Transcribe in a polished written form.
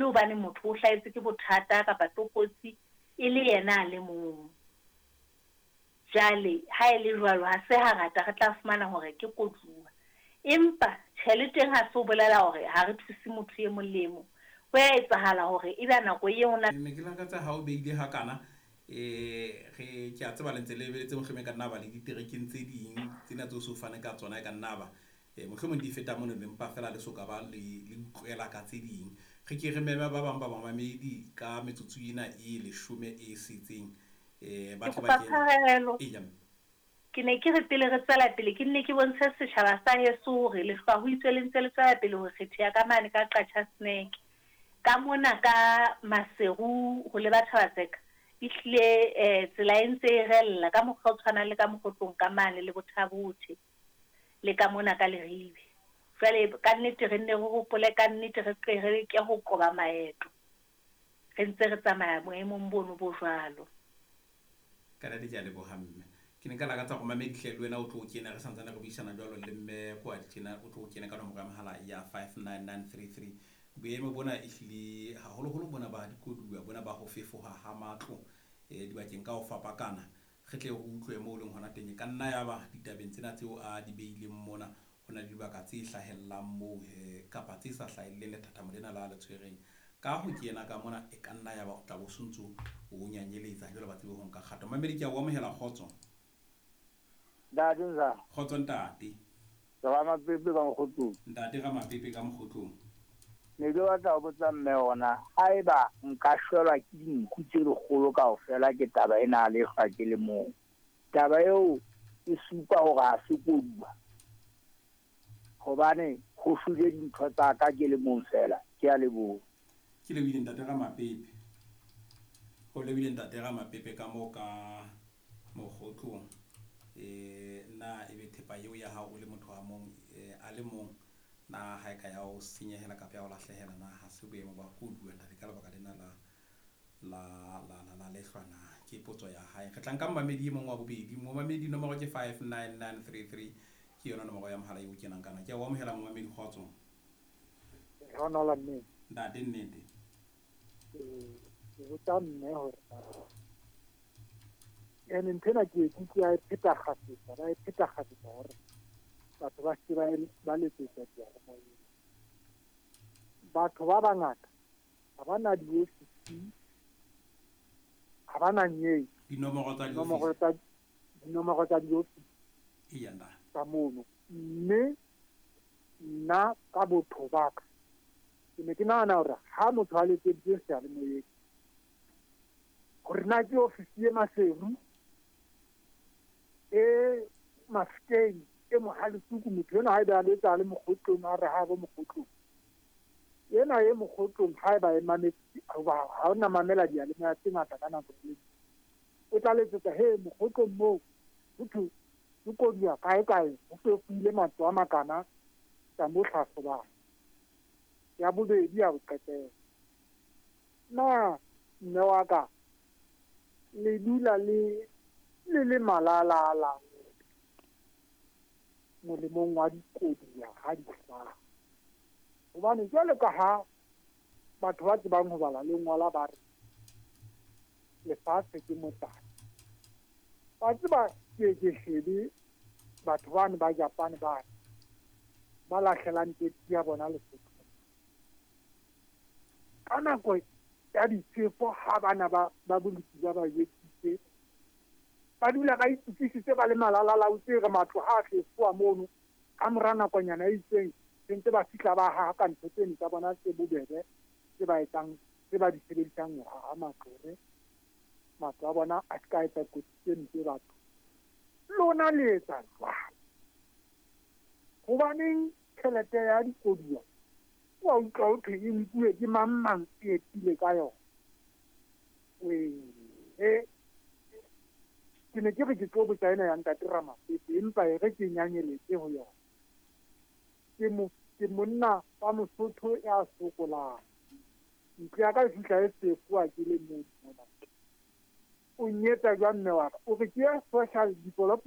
Hobane motho o hlahetswe ke bothata kapa tlokotsi e le yena a le mong. Jwale ha e le jwalo, ha se hangata re tla fumana hore ke koduwa. Empa tjhe le teng ha se ho bolela hore ha re thuse motho e mong le e mong. Ho ya etsahala hore ebe nako eo na. Ne ke lakatsa ha o beile hakana re ke a tseba le ntse le lebeletse mohlomong e ka nna ba le diterekeng tse ding tsena tseo so fane ka tsona e ka nna ba mohlomong di feta mono le mpa fela le so ka ba le utlwela ka tse ding. Re ke re meme ba bang ba bamamedi ka metsotso ena e 10 e setseng ba Ke tle ba kopa kene. tshwarelo. Eya mme. Ke ne ke re pele re tswela pele ke nne ke bontshe setjhaba sa heso hore lehlwa ho itswe le ntse le tswela pele ho kgetheha ka mane ka Qacha's Nek. Ka mona ka Maseru ho leba Thaba-Tseka ehlile tsela e ntse e rella ka mokgwa o tshwanang le ka Mokgotlong ka mane le Botha-Bothe le ka mona ka Leribe. Jwale ka nnete re nne re hopole ka nnete re tle re leke ho qoba maeto. Re ntse re tsamaya boemong bono bo jwalo. Ka nnete ke a leboha mme. Ke ne nka lakatsa hore mamedi hle le wena o tlo kena re santsane re buisana jwalo le mme Kwadi tjena o tlo kena ka nomoro ya mohala ya 59933. Boemo bona ehlile haholoholo bona ba dikoduwa bona ba ho fefoha ha matlo dibakeng ka ho fapakana. Re tle re utlwe moo leng hona teng. E ka nna ya ba ditabeng tsena tseo a di beileng mona ho na le dibaka tse hlahellang moo kapa tse sa hlahelleng lethathamo lena la le tshwereng. Ka ho kena ka mona e ka nna ya ba o tla bo sontso o nyanyeletsa jwale ba tsebe ho nka kgato. Mamedi ke a o amohela kgotso. Ntate njani? Kgotso ntate. Ramapepe ka Mokgotlong. Ntate Ramapepe ka Mokgotlong. Ne ke batla ho botsa mme hore haeba nka shwelwa ke dinku tse lekgolo kaofela ke taba ena a lehlwa ke le mong. Taba eo e supa hore ha se koduwa. Hobane ho shwele dintho tsa ka ke le mong fela. Ke a leboha. Ke lebohile ntate Ramapepe. Ho lebohile ntate Ramapepe ka moo ka Mokgotlong. Na ebe thepa eo ya hao o le motho a mong a le mong na ha e ka ya o senyehela kapa ya o lahlehela na ha se boemo ba koduwa ntate ka lebaka lena la la la la la lehlwa na ke potso ya hae. Re tla nka momamedi e mong wa bobedi. Momamedi nomoro ke 59933 ke yona nomoro ya mohala eo kenang kana. Ke a o amohela momamedi kgotso. Ronald mme. Ntate nnete. Ke botsa mme hore ene ntho ena ke e kutlwe a e pheta kgafetsa, ba e pheta kgafetsa hore batho ba se ba letsetsa diyalemoyeng. Batho ba bangata ha ba na diofisi, ha ba na nyei. Dinomoro tsa Dinomoro diofisi. tsa dinomoro tsa diofisi Eya ntate. tsa mono. Mme nna ka botho ba ka ke ne ke nahana hore ha motho a letseditse seyalemoyeng hore na ke ofisi e Maseru e Mafikeng e Mohalesuku, motho enwa haeba a letsa a le Mokgotlong a re ha bo Mokgotlong, ena e Mokgotlong haeba e mametse hoba ha ona mamela diyalemoya tse ngata ka nako e, o tla letsetsa he Mokgotlong moo ho thwe ke koduwa kae kae ho fefohile matlo a makana tsa mo hlahlobang. Ya bobedi ya ho qetela, na mme wa ka le dula le le le malala molemong wa dikoduwa ha di hlaha? Hobane jwalo ka ha batho ba tsebang ho bala le ngola ba re lefatshe ke motsana. Wa tseba ke ke shebe batho bane ba Japan bane ba lahlelang tekesi ya bona Lesotho. Ka nako ya difefo ha bana ba boloki ba ba jwetsitse, ba dula ba itukisitse ba le malalalautse re matlo ha a fefoha mono. Ka mora nakonyana e itseng se ntse ba fihla ba haha ka ntho tseno tsa bona tse bobebe tse ba etsang tse ba di sebedisang ho haha matlo hore matlo a bona a ska etsa kotsi tse mpe batho. Lona le etsa jwang? Hobaneng tjhelete ya dikoduwa wa utlwa ho thwe e nkuwe ke mang mang e etile ka yona? Ke ne ke re ke tlo botsa ena ya ntate Ramapepe empa e re ke nyanyeletse ho yona. Ke monna wa Mosotho ya sokolang. Ntlo ya ka e fihla e fefoha ke le mong mona. O nyetsa jwang mme wa ka? O re ke ya social development